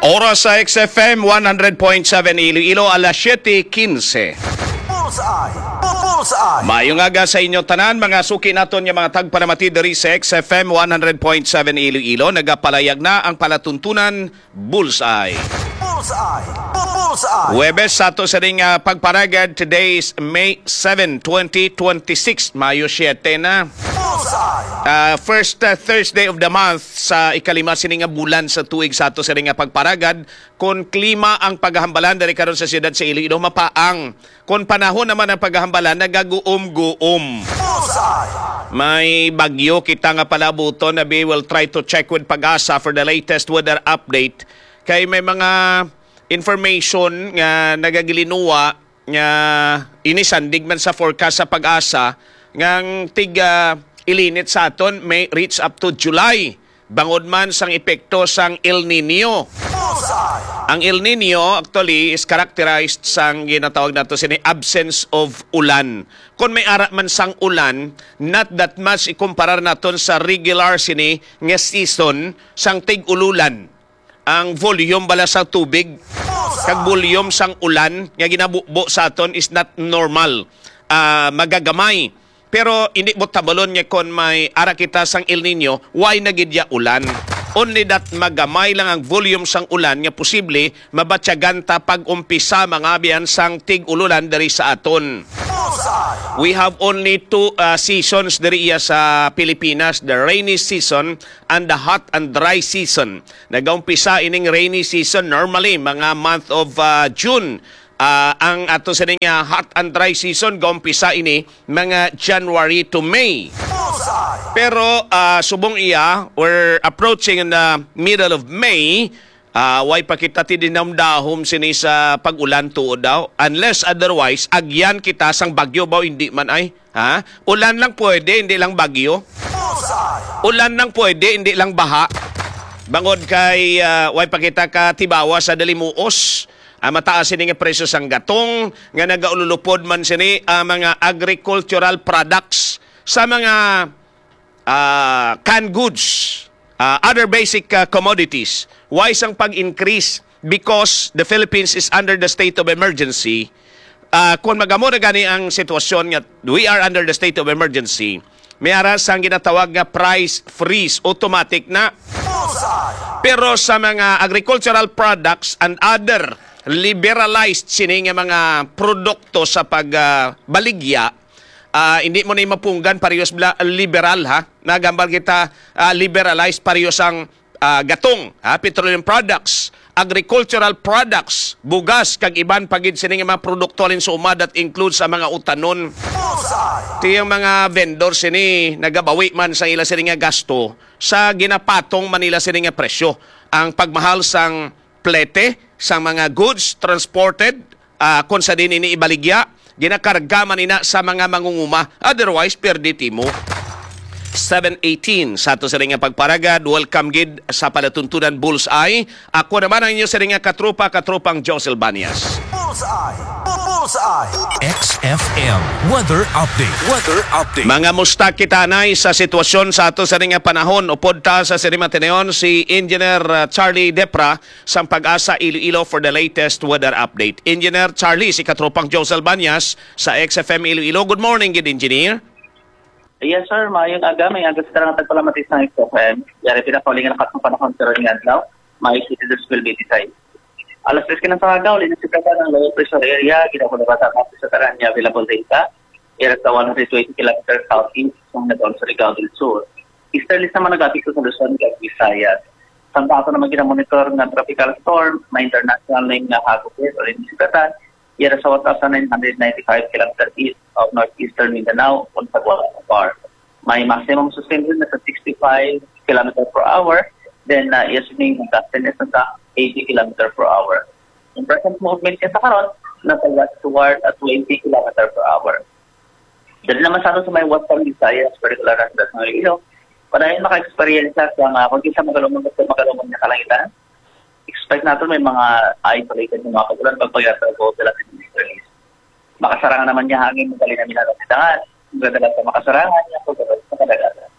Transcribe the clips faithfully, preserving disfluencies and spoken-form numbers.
Oras sa X F M one hundred point seven Iloilo, alas siyete quince. Bullseye! Bullseye! Maayong aga sa inyo tanan, mga suki naton nga mga tagpalamati diri sa X F M one hundred point seven Iloilo. Nagapalayag na ang palatuntunan Bullseye. Bullseye! Bullseye! Huwebes sa ato sa ring, ah, pagparagad. Today is May seven, twenty twenty-six. Mayo siyete na. Bullseye! Ah, first, ah, Thursday of the month sa ikalima sini nga bulan sa tuig sa ato sini nga pagparagad. Kon klima ang paghambalan diri karon sa siyudad sa Iloilo, mapaang. Kon panahon naman ang paghambalan, nagaguom-guom. Bullseye! May bagyo kita nga palabuton, na we will try to check with PAGASA for the latest weather update. Kay may mga information nga nagagilinuwa nga inisandig man sa forecast sa PAGASA, nga ang tig, ah, ilinit sa aton may reach up to July, bangod man sang epekto sang El Nino. Bullseye! Ang El Nino actually is characterized sang ginatawag nato sini absence of ulan. Kung may ara man sang ulan, not that much ikumparar naton sa regular sini nga season sang tig-ululan. Ang volume bala sa tubig kag volume sang ulan nga ginabubo sa aton is not normal. Ah, magagamay. Pero hindi mo tabalon nga kon may ara kita sang El Nino, why na gid ya ulan? Only that magamay lang ang volume sang ulan nga posible mabatyagan ta pag-umpisa, mga abyan, sang tig-ululan diri sa aton. We have only two, ah, seasons diri iya sa Pilipinas, the rainy season and the hot and dry season. Nagaumpisa ining rainy season normally mga month of, ah, June. Ah, ang ato sini nga hot and dry season gaumpisa ini mga January to May. Pero, ah, subong iya, we're approaching in the middle of May. Ah, way pa kita tinindahom sini sa pag-ulan tuod daw. Unless otherwise, agyan kita sang bagyo ba, hindi man ay. Ha? Ulan lang pwede, hindi lang bagyo. Ulan lang pwede, hindi lang baha. Bangod kay, ah, way pa kita katibawa sa dalimuos. Ah, mataas ini nga presyo sang gatong nga nagaululupod man sini ang mga agricultural products sa mga, ah, canned goods, ah, other basic, ah, commodities. Why sang pag-increase? Because the Philippines is under the state of emergency. Ah, kung magamo na gani ang sitwasyon nga we are under the state of emergency, may ara sang ginatawag nga price freeze, automatic na. Pero sa mga agricultural products and other liberalized sini nga mga produkto sa pag, ah, baligya, ah, hindi mo na mapunggan parehas bla-, liberal, ha? Nagambal kita, ah, liberalized parehas ang, ah, gatong, ha? Petroleum products, agricultural products, bugas, kag iban pa gid sini nga mga produkto halin sa uma that includes ang mga utanon. Ti ang mga vendor sini nagabawi man sa ila sini nga gasto sa ginapatong man nila sini nga presyo. Ang pagmahal sang plete sang mga goods transported, ah, kung sa din ini ibaligya, ginakarga man ina sa mga mangunguma. Otherwise, perdi timo. Seven eighteen sa ato sa nga pagparagad. Welcome gid sa palatuntunan Bullseye. Ako naman ang inyo sa nga katropa, katropang Josel Banyas. Bullseye! Bullseye! X F M weather update. Weather update. Mga musta kita anay sa sitwasyon sa ato sa nga panahon. Upod ta sa sini matineon si Engineer, uh, Charlie Depra sang PAGASA Iloilo for the latest weather update. Engineer Charlie, si katropang Josel Banyas sa X F M Iloilo. Good morning gid, Engineer. Yes, sir. Maayong aga. May aga sa tarang tagpalamatis ng X F M. Yari pinakauling ang lakas ng panahon sa ron nga adlaw. May city this will be decided. Alas tres kinang sa aga, uli na si Kata ng low pressure area, ginagulabatan natin sa taran niya available data. Ira sa one hundred twenty kilometers southeast ng Negros, Surigao del Sur. Easterlies naman nag-apekto sa Luzon, kag Visayas. Samtang ato naman ginamonitor nga tropical storm, may international name nga hagupit o rin sugatan, yara sa one thousand nine hundred ninety-five kilometer east of northeastern Mindanao, kung sa Guadalajara. May maximum sustained wind na sa sixty-five kilometer per hour, then, uh, iya sining gustiness na sa eighty kilometer per hour. Ang present movement niya sa karon, nasa westward at twenty kilometer per hour. Dali naman sa ato sa may Western Visayas, particular na sa Datang Iloilo, padayon maka-experience sa mga, kung kinsa magalumon, gusto magalumon nga kalangitan. Expect natin may mga isolated nga mga pag-ulan pag pag-atrago sila sa Middle East. Makasarangan naman niya hangin, madali na minalapitangan. Magdadala sa makasarangan niya, pagkabalik sa kadagatan.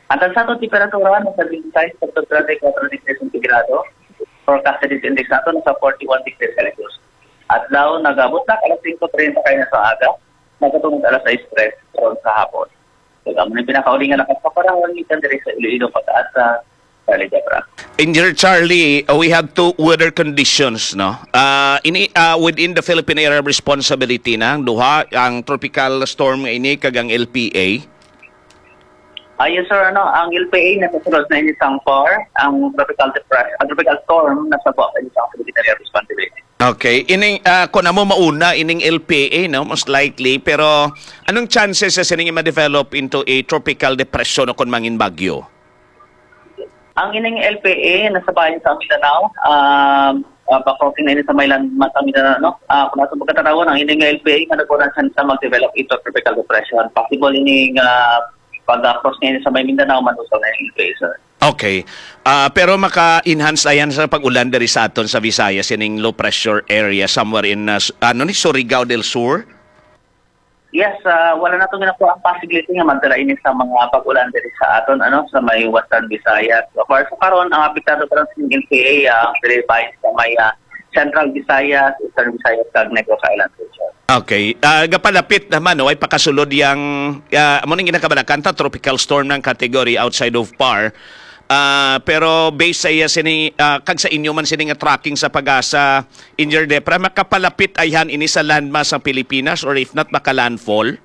Ang tansatong temperatura, nasa twenty-five sa twenty-four degrees centigrado. forecasted heat index nato nasa forty-one degrees Celsius. Adlaw, nagabot na alas singko treinta kayo na sa aga, nagkatungod alas sais tres karon sa hapon. So, amo ni pinakauli nga lakas sa panahon gikan diri sa Iloilo, Pag-asa, Charlie Debra. Engineer Charlie, uh, we have two weather conditions, no? Uh, ini uh, within the Philippine Area of Responsibility na ang duha, ang tropical storm nga ini kag ang L P A. Ah, yes, sir. Ano, ang L P A nakasulod na ini sang PAR, ang tropical depression, ang tropical storm nasa buwan ini sang Philippine Area of Responsibility. Okay. Ining, ah, kung amo mauna, ining L P A, no, most likely. Pero anong chances sa sining ma-develop into a tropical depression o kung mangin bagyo? Ang ining L P A nasa bayan sa Mindanao, um, uh, bakoking na ini sa may landmass sa Mindanao, no? Ah, kung ato pagkatanawan, ang ining L P A nga nagkunan sa mag-develop into tropical depression. Possible ini nga pag-cross niya sa may Mindanao, manusaw na yung L P A, sir. Okay. Ah, pero maka-enhance ayan sa pag-ulan diri sa aton sa Visayas, ining low pressure area somewhere in, ah, s- ano ni, Surigao del Sur? Yes, ah, wala na itong ginakuha ang possibility nga magdala ini sa mga pag-ulan diri sa aton, ano, sa may Western Visayas. Of course, karon ang apektado pa lang sa L P A, ah, ang diri bahin sa may, ah, Central Visayas, Eastern Visayas, kag Negros Island region. Okay. Ah, gapalapit naman, no? Ay pakasulod yang, ah, amo ning ginakabalakan ta, tropical storm ng category outside of PAR. Ah, pero based sa iya sini, ah, kag sa inyo man sini nga tracking sa Pag-asa, Engineer Debra, makapalapit ayhan ini sa landmass ang Pilipinas or if not, maka-landfall?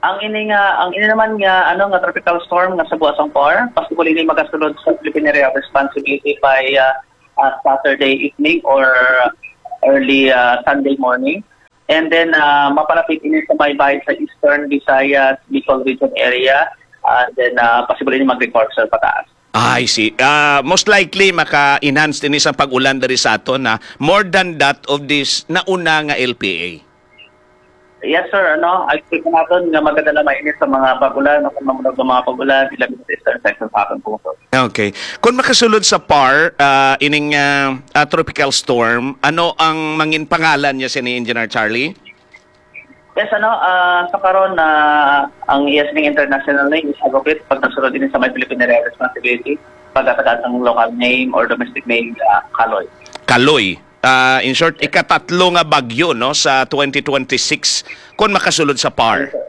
Ang ini nga, ang ini naman nga, ano, nga tropical storm nga sa buwas ang PAR, possible ini magasulod sa Philippine Area of Responsibility by, ah, ah, Saturday evening or early, ah, Sunday morning. And then, ah, mapalapit ini sa may bahin sa Eastern Visayas, Bicol region area. And then, ah, possible ini mag-record sa pataas. I see. Ah, most likely, maka-enhance ini sa pag-ulan diri sa aton, ha? More than that of this nauna nga L P A. Yes, sir. Ano, I expect natin nga magdala man ini sa mga pag-ulan o kung mamunog ng mga pag-ulan, ilabi sa eastern section sa ating pungsod. Okay. Kung makasulod sa PAR, ah, ining, ah, ah, tropical storm, ano ang mangin pangalan niya sini, Engineer Charlie? Yes, ano, ah, sa karon na ang iya sining international name is Agapit, pag nasulod din sa may Philippine Area Responsibility, pagkatagaan ng local name or domestic name, ah, Kaloy. Kaloy. Ah, in short, ikatatlo nga bagyo, no, sa twenty twenty-six, kung makasulod sa PAR. Yes, sir.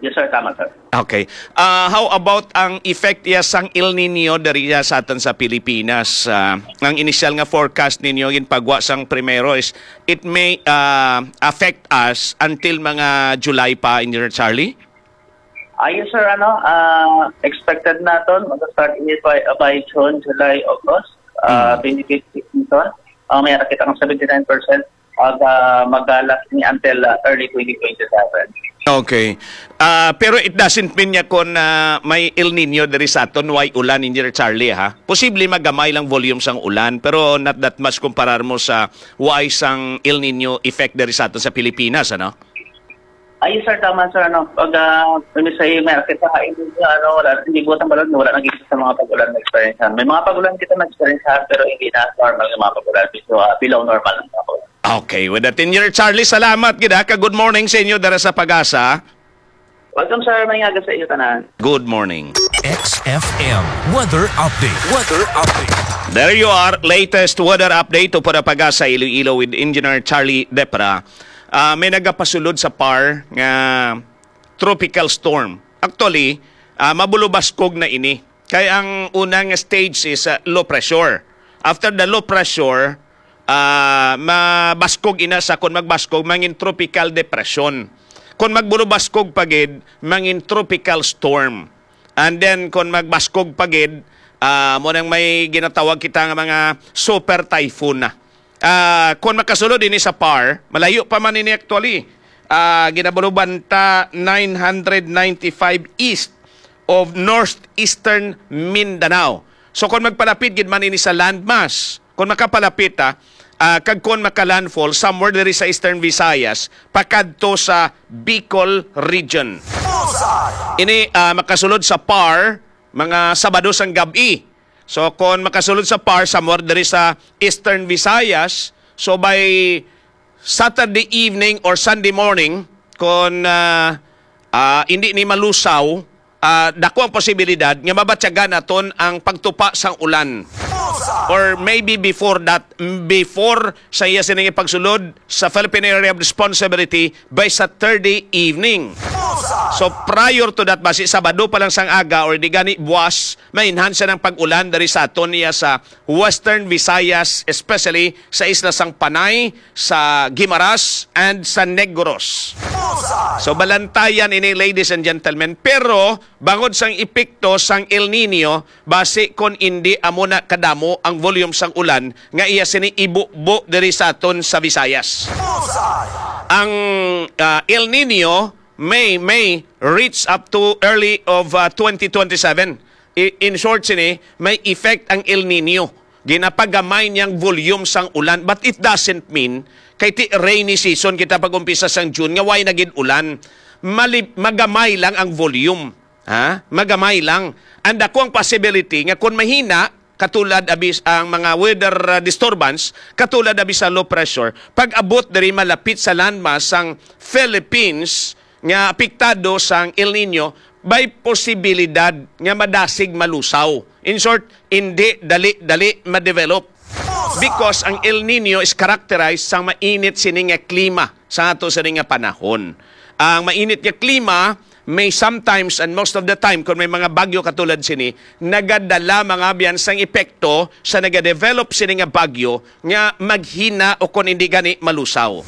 Yes, sir. Tama, sir. Okay. Ah, how about ang effect iya sang El Nino diri sa aton sa Pilipinas? Ah, ang initial nga forecast ninyo ginpagwa sang primero is it may, ah, affect us until mga July pa, Engineer Charlie? Ah, yes, sir. Ano, ah, expected naton mag-start ini by, by June, July, August. Ah, Mm. twenty twenty-six season. Ah, may nakita ng seventy-nine percent. Mag, ah, mag-last ni until, ah, early twenty twenty-seven. Okay. Ah, pero it doesn't mean nga kung, ah, may El Nino diri sa aton, way ulan, Engineer Charlie, ha? Posible magamay lang volume sang ulan, pero not that much kumparar mo sa way sang El Nino effect diri sa aton sa Pilipinas, ano? Ay, sir, tama, sir. Ano, pag, ah, may sa iyo, may kita ka, hindi, ano, wala, hindi buot ang balon, wala nang kita sa mga pag-ulan na experience. May mga pag-ulan kita na experience, pero hindi na normal nga mga pag-ulan. So, ah, below normal ang mga pag-ulan. Okay, with that, Engineer Charlie, salamat gid, ha, ka good morning sa inyo dara sa Pag-asa. Welcome, sir. May aga sa iyo tanan. Good morning. X F M weather update. Weather update. There you are, latest weather update upod ang Pag-asa Iloilo with Engineer Charlie Depra. Ah, may nagapasulod sa PAR nga tropical storm. Actually, ah, mabulubaskog na ini. Kay ang unang stage is, ah, low pressure. After the low pressure, ah, mabaskog ina sa, kung magbaskog, mangin tropical depression. Kung magbulubaskog pa gid, mangin tropical storm. And then, kung magbaskog pa gid, ah, mo nang may ginatawag kita nga mga super typhoon na. Ah, kung makasulod ini sa PAR, malayo pa man ini actually. Ah, ginabuluban ta nine hundred ninety-five east of northeastern Mindanao. So kung magpalapit gid man ini sa landmass, kung makapalapit, ah, ah, kag kung makalandfall somewhere diri sa Eastern Visayas, pakadto sa Bicol region. Ini, ah, makasulod sa PAR mga Sabado sang gab-i. So kung makasulod sa PAR somewhere diri sa Eastern Visayas, so by Saturday evening or Sunday morning, kung, ah, ah, hindi ni malusaw, ah, dako ang posibilidad nga mabatyagan naton ang pagtupa sang ulan. or maybe before that, before sa iya sining pagsulod sa Philippine Area of Responsibility by Saturday evening. So prior to that, basi Sabado pa lang sang aga or di gani buwas, ma-enhance ang pag-ulan diri sa aton niya sa Western Visayas, especially sa isla sang Panay, sa Guimaras, and sa Negros. So balantayan ini, ladies and gentlemen, pero bangod sang epekto sang El Nino, basi kon indi amo na kadamo ang volume sang ulan nga iya sini ibubo diri sa aton sa Visayas. Ang ah, El Nino may may reach up to early of ah, twenty twenty-seven. I- in short sini, may effect ang El Nino. Ginapagamay niyang volume sang ulan, but it doesn't mean kay ti rainy season kita pag-umpisa sang June nga way na gid ulan. Mali- magamay lang ang volume. Ha? Magamay lang. Ang dako ang possibility nga kung mahina, katulad abi ang mga weather uh, disturbance, katulad abi sa low pressure, pag-abot diri malapit sa landmass sang Philippines nga apektado sang El Nino, may posibilidad nga madasig malusaw. In short, hindi dali-dali ma-develop. Because ang El Nino is characterized sang mainit sini nga klima sa ato sini nga panahon. Ang mainit nga klima may sometimes and most of the time, kung may mga bagyo katulad sini, nagadala mga biyan sang epekto sa nagadevelop sini nga bagyo nga maghina o kung hindi gani malusaw.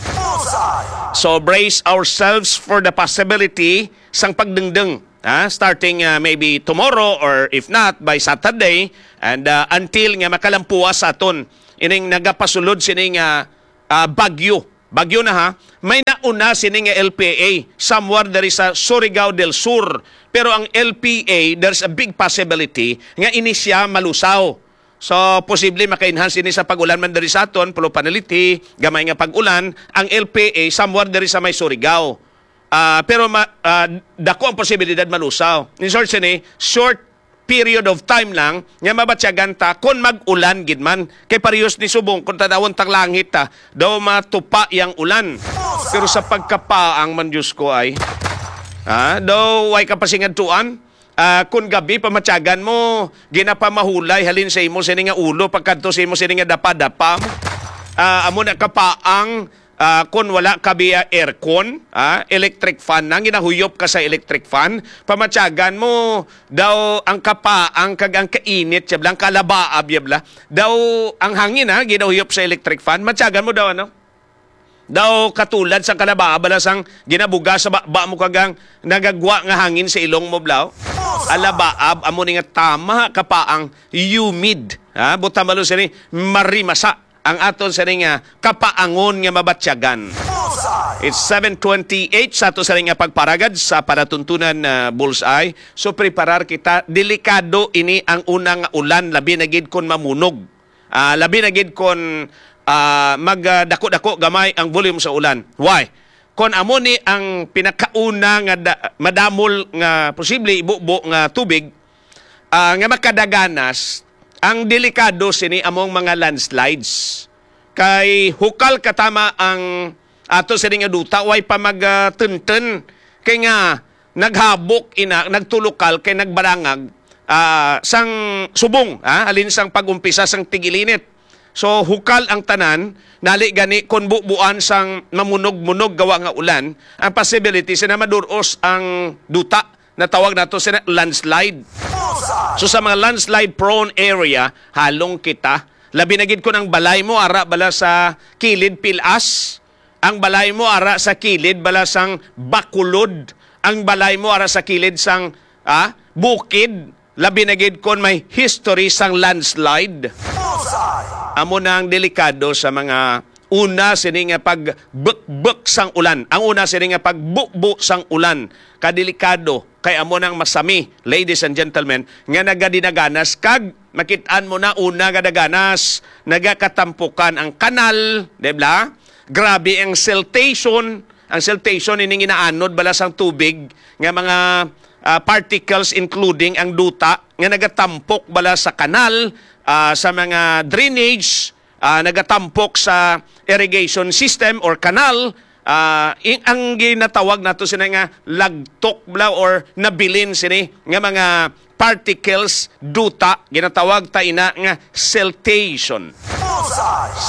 So brace ourselves for the possibility sang pagdengdeng. Ha? Starting uh, maybe tomorrow or if not, by Saturday, and uh, until nga makalampuas sa aton ining nagapasulod sini nga uh, bagyo. Bagyo na ha, may nauna sini nga L P A somewhere diri sa Surigao del Sur. Pero ang L P A, there's a big possibility nga ini siya malusaw. So, posible maka-enhance ini sa pag-ulan man diri sa aton, pero panaliti, gamay nga pag-ulan, ang L P A somewhere diri sa may Surigao. Ah, pero ma, ah, dako ang posibilidad malusaw. In short sini, short period of time lang nga mabatyagan ta kon mag-ulan gid man. Kay parehos ni subong kung tanawon tang langit ta, daw matupa yang ulan. Pero sa pagkapaang man, Diyos ko ay, ah, daw way ka pasingadtuan. Ah, kun gabi pamatyagan mo, ginapamahulay halin sa imo sini nga ulo pagkadto sa imo sini nga dapa-dapa. Ah, amo na kapaang ah, kun wala ka biya aircon, ah, electric fan na, ginahuyop ka sa electric fan, pamatyagan mo daw ang kapaang kag ang kainit, siya bla, ang kalabaab, ya bla. Daw ang hangin, ha, ginahuyop sa electric fan, matyagan mo daw, ano? Daw katulad sa kalabaab, bala sang ginabuga sa ba, ba mo kag ang nagagwa nga hangin sa ilong mo, blaw. Alabaab, amo ni nga tama, kapaang humid. Ha? Butang malo sini, marimasa ang aton sini nga kapaangon nga mabatyagan. It's seven twenty-eight sa ato sini nga pagparagad sa palatuntunan na Bullseye. So preparar kita, delikado ini ang una nga ulan, labi na gid kon mamunog. Ah, labi na gid kon ah, magdako-dako gamay ang volume sa ulan. Why? Kon amo ni ang pinakauna nga da- madamol nga posible ibubo nga tubig, ah, nga makadaganas, ang delikado sini among mga landslides. Kay hukal katama ang ato sini nga duta, way pa magtenten. Kay nga naghabok ina, nagtulukal kay nagbarangag ah, sang subong, ah, halin sang pag-umpisa sang tigilinit. So hukal ang tanan, nali gani kon bubuan sang mamunog-munog gawa nga ulan, ang possibility sina maduros ang duta, natawag nato sina landslide. So sa mga landslide prone area, halong kita. Labi na gid kon ang balay mo ara bala sa kilid pilas, ang balay mo ara sa kilid bala sang Bacolod, ang balay mo ara sa kilid sang ah, bukid, labi na gid kon may history sang landslide. Amo na ang delikado sa mga una sini nga pagbukbok sang ulan. Ang una sini nga pagbubo sang ulan. Kadelikado kay amo nang masami, ladies and gentlemen, nga nagadinaganas kag makit-an mo na una nga daganas, nagakatampukan ang kanal, di ba? Grabe ang siltation. Ang siltation ini ginaanod bala sang tubig nga mga ah, particles including ang duta nga nagatampok bala sa kanal, ah, sa mga drainage, ah, nagatampok sa irrigation system or kanal, ah, in, ang ginatawag nato sina nga lagtok bala or nabilin sini nga mga particles duta, ginatawag ta ina nga siltation.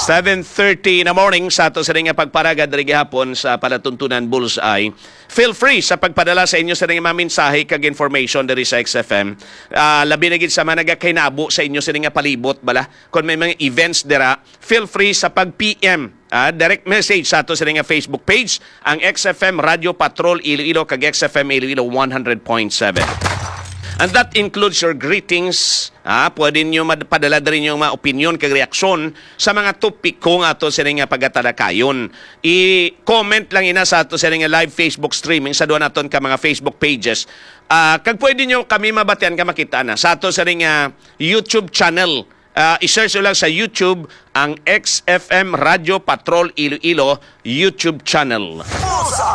Seven thirty in the morning sa ato sini nga pagparagad diri gihapon sa palatuntunan Bullseye. Feel free sa pagpadala sa inyo sini nga mga mensahe kag information diri sa X F M. Ah, labi na gid sa mga nagakainabo sa inyo sini nga palibot, bala. Kung may mga events dira, feel free sa pag-P M, ah, direct message sa ato sini nga Facebook page, ang X F M Radio Patrol Iloilo kag X F M Iloilo one hundred point seven. And that includes your greetings. Ah, pwede niyo mad-, padala diri yung mga opinion kag reaksyon sa mga topiko nga ato sini nga pagatalakayon. I-comment lang ina sa ato sini nga live Facebook streaming sa duha naton ka mga Facebook pages. Ah, kag pwede niyo kami mabatian ka makita na sa ato sini nga YouTube channel. Ah, i-search nyo lang sa YouTube ang X F M Radio Patrol Iloilo YouTube channel.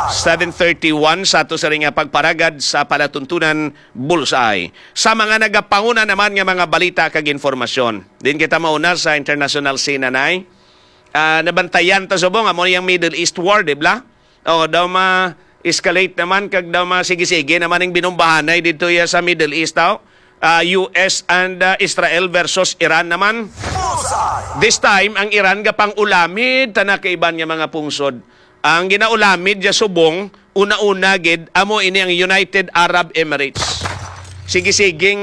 Seven thirty-one sa ato sini nga pagparagad sa palatuntunan Bullseye. Sa mga nagapanguna naman nga mga balita kag informasyon. Din kita mauna sa international scene, anay. Ah, nabantayan ta subong amo niyang Middle East war, di ba? O, daw ma-escalate naman kag daw ma sige-sige naman ang binumbahanay dito ya sa Middle East, daw. Ah, U S and, ah, Israel versus Iran naman. This time, ang Iran gapang-ulamid ta na kaiban nga mga pungsod. Ang ginaulamid ya subong, una-una gid, amo ini ang United Arab Emirates. Sige-siging,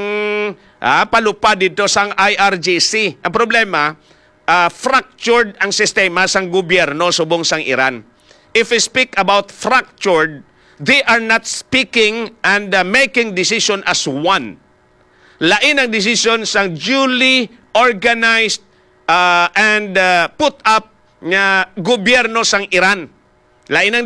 ah, palupad dito sang I R G C. Ang problema, ah, fractured ang sistema sang gobyerno subong sang Iran. If we speak about fractured, they are not speaking and, uh, making decision as one. Lain ang decision sang duly organized, uh, and, uh, put up nga gobyerno sang Iran. Lain ang